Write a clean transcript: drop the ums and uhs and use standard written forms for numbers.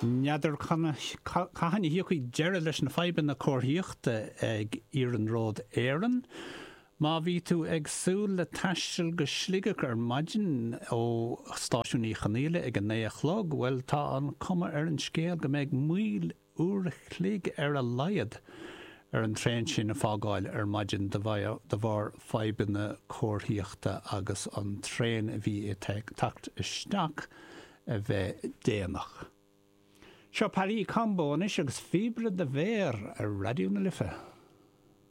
N'fheadar cathain a thiocfaidh deireadh leis na fadhbanna comharthaíochta ag Iarnród Éireann. Má bhí tú ag súil le taisteal go Sligeach ar maidin ó Stáisiún Uí Chonghaile ag a 9 a chlog, bhuel tá an cuma ar an scéal go mbeidh moill uair a chloig ar a laghad ar an traein sin a fágáil ar maidin de bharr fadhbanna comharthaíochta agus an traein a bhí ag teacht isteach a bheith déanach. Seo Paris Combo anois agus Píobaire do Mhéar ar Raidió na Life.